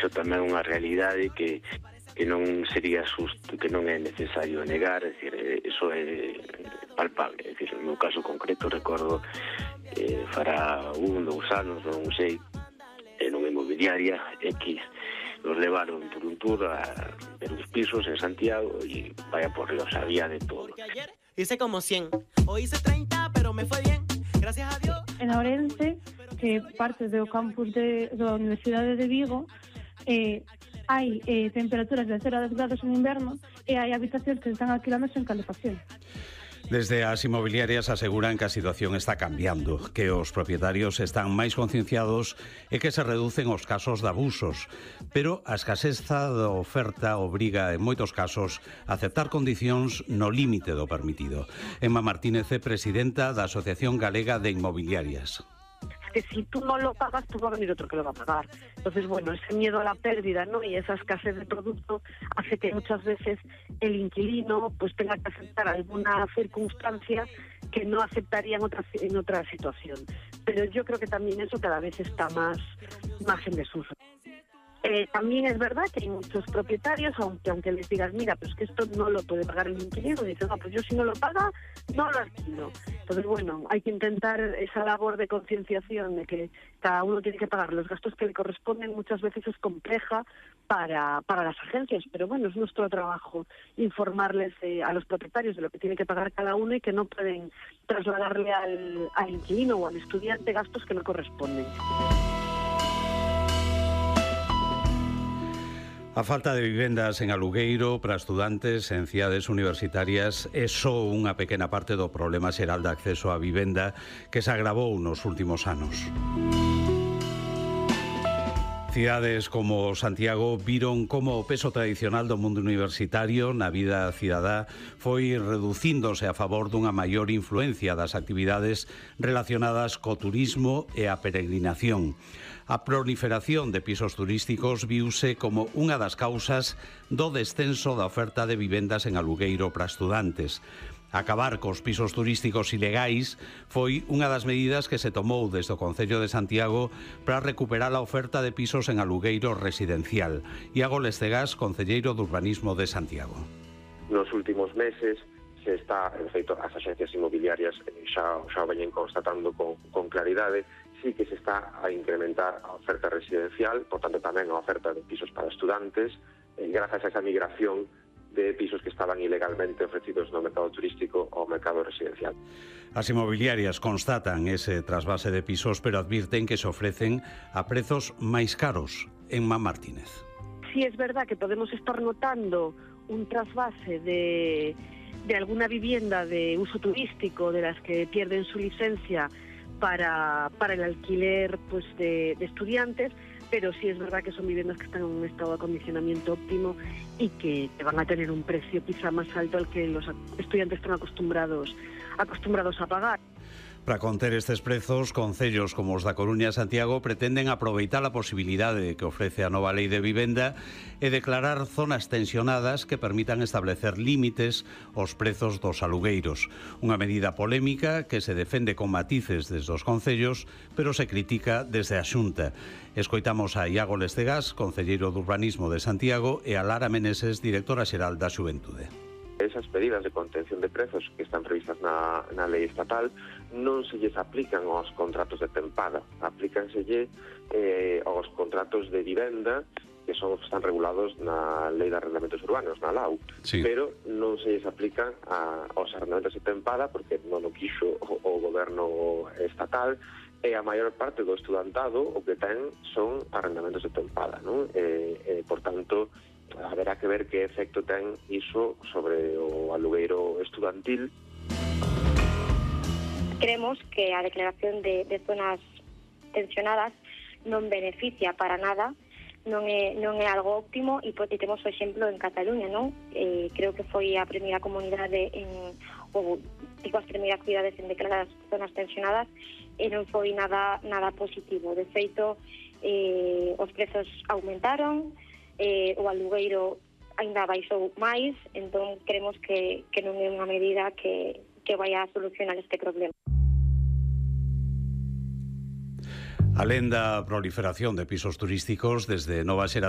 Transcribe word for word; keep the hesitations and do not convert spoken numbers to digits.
iso tamén é unha realidade que que non sería susto, que non é necesario negar, é dicir, iso é palpable, é dicir, no meu caso concreto recordo eh, fará un, dous anos, non sei, en unha inmobiliaria X, nos levaron por un tour a ver uns pisos en Santiago e vaya por Dios, había de todo. Hice como cien, o hice treinta, pero me fue bien, gracias a Dios. En Ourense, que parte do campus de, da Universidade de Vigo, eh, hai eh, temperaturas de cero a dez grados en inverno e hai habitacións que están alquilándose en calefacción. Desde as inmobiliarias aseguran que a situación está cambiando, que os propietarios están máis concienciados e que se reducen os casos de abusos, pero a escaseza da oferta obriga en moitos casos a aceptar condicións no límite do permitido. Emma Martínez é presidenta da Asociación Galega de Inmobiliarias. Que si tú no lo pagas, pues va a venir otro que lo va a pagar. Entonces, bueno, ese miedo a la pérdida, ¿no? Y esa escasez de producto hace que muchas veces el inquilino pues tenga que aceptar alguna circunstancia que no aceptaría en otra, en otra situación. Pero yo creo que también eso cada vez está más, más en desuso. Eh, también es verdad que hay muchos propietarios, aunque aunque les digas, mira, pues que esto no lo puede pagar el inquilino, dicen, no, pues yo si no lo paga, no lo alquilo. Entonces, bueno, hay que intentar esa labor de concienciación de que cada uno tiene que pagar los gastos que le corresponden, muchas veces es compleja para, para las agencias, pero bueno, es nuestro trabajo informarles eh, a los propietarios de lo que tiene que pagar cada uno y que no pueden trasladarle al, al inquilino o al estudiante gastos que no corresponden. A falta de vivendas en alugueiro para estudantes en cidades universitarias é só unha pequena parte do problema xeral de acceso á vivenda que se agravou nos últimos anos. Cidades como Santiago viron como o peso tradicional do mundo universitario na vida cidadá foi reducíndose a favor dunha maior influencia das actividades relacionadas co turismo e a peregrinación. A proliferación de pisos turísticos viuse como unha das causas do descenso da oferta de vivendas en alugueiro para estudantes. Acabar cos pisos turísticos ilegais foi unha das medidas que se tomou desde o Concello de Santiago para recuperar a oferta de pisos en alugueiro residencial. Iago Lestegas, concelleiro de Urbanismo de Santiago. Nos últimos meses se está, en feito, as axencias inmobiliarias xa, xa o veñen constatando con, con claridade, sí que se está a incrementar a oferta residencial, por tanto tamén a oferta de pisos para estudantes, eh, grazas a esa migración de pisos que estaban ilegalmente ofrecidos no mercado turístico ao mercado residencial. As inmobiliarias constatan ese trasvase de pisos, pero advirten que se ofrecen a prezos máis caros. Emma Martínez. Sí, es verdad que podemos estar notando un trasvase de, de alguna vivienda de uso turístico, de las que pierden su licencia para, para el alquiler pues de, de estudiantes, pero sí es verdad que son viviendas que están en un estado de acondicionamiento óptimo y que van a tener un precio quizá más alto al que los estudiantes están acostumbrados, acostumbrados a pagar. Para conter estes prezos, concellos como os da Coruña e Santiago pretenden aproveitar a posibilidade que ofrece a nova lei de vivenda e declarar zonas tensionadas que permitan establecer límites aos prezos dos alugueiros. Unha medida polémica que se defende con matices desde os concellos, pero se critica desde a Xunta. Escoitamos a Iago Lestegas, concelleiro de Urbanismo de Santiago, e a Lara Meneses, directora xeral da Xuventude. Esas medidas de contención de prezos que están previstas na, na lei estatal non se lles aplican aos contratos de tempada, aplícanselle eh, aos contratos de vivenda que son están regulados na Lei de Arrendamentos Urbanos, na L A U, sí. Pero non se lles aplican a, aos arrendamentos de tempada porque non o quixo o, o goberno estatal, e a maior parte do estudantado o que ten son arrendamentos de tempada, non? E, e, por tanto, haberá que ver que efecto ten iso sobre o alugueiro estudantil. Creemos que a declaración de, de zonas tensionadas non beneficia para nada, non é, non é algo óptimo, e, e temos o exemplo en Cataluña, non? Eh, creo que foi a primeira comunidade en, ou digo as primeiras cidades en declarar as zonas tensionadas, e non foi nada nada positivo. De feito, eh, os prezos aumentaron, eh, o alugueiro ainda baixou máis, entón creemos que, que non é unha medida que, que vai a solucionar este problema. Alén da proliferación de pisos turísticos, desde Nova Xeración